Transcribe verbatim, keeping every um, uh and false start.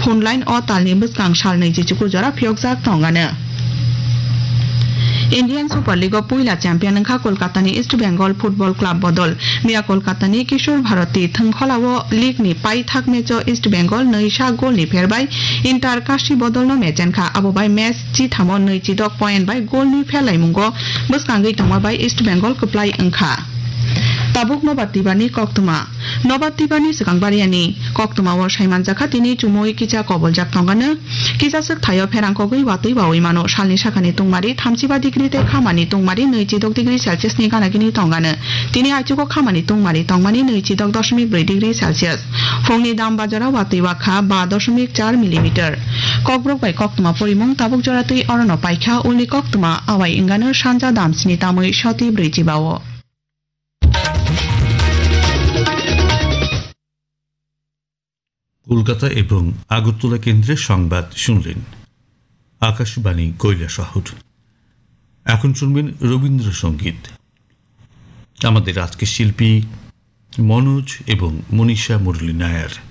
phone line o talni bwskang salnwi chichuku jora phiyokjak tongano. Indian Super League o puila champion wngkha Kolkatani East Bengal Football Club bodol. Miya Kolkatani Kishore Bharati thwngkholao league ni paithak match o East Bengal nwi sak goal ni pherbai Inter Kashi bodolno mechenkha. Abo bai match chithamo nwi chidok point bai goal ni pherlaimungo bwskangwi tongma bai East Bengal kwplai wngkha. Tabuk nobar tibani koktwma. Nobar tibani swkang bariani koktwmao saimanjakha tini chumui kisa koboljak tongano. Kisa swk thaio pherang kogwi watwi bawi mano. Salni sakani tungmari thamchiba degree tei khamani tungmari nwi chidok degree Celsius ni gana gini tongano. Tini aichugo khamani tungmari tongmani nwi chidok doshmik brwi degree Celsius. Phungni dam bajaro watwi wakha ba doshmik char millimeter. Kokborok bai koktwma porimung tabuk jora twi orono paikha, ulni koktwma awai wngano sanja dam sni tamwi soti brwi chibao. Kolkata এবং আগরতলা কেন্দ্রের সংবাদ শুনলেন। আকাশবাণী কৈলাসহর। এখন শুনবেন রবীন্দ্রসঙ্গীত। আমাদের আজকের শিল্পী মনোজ এবং মনীষা মুরলী নায়ার।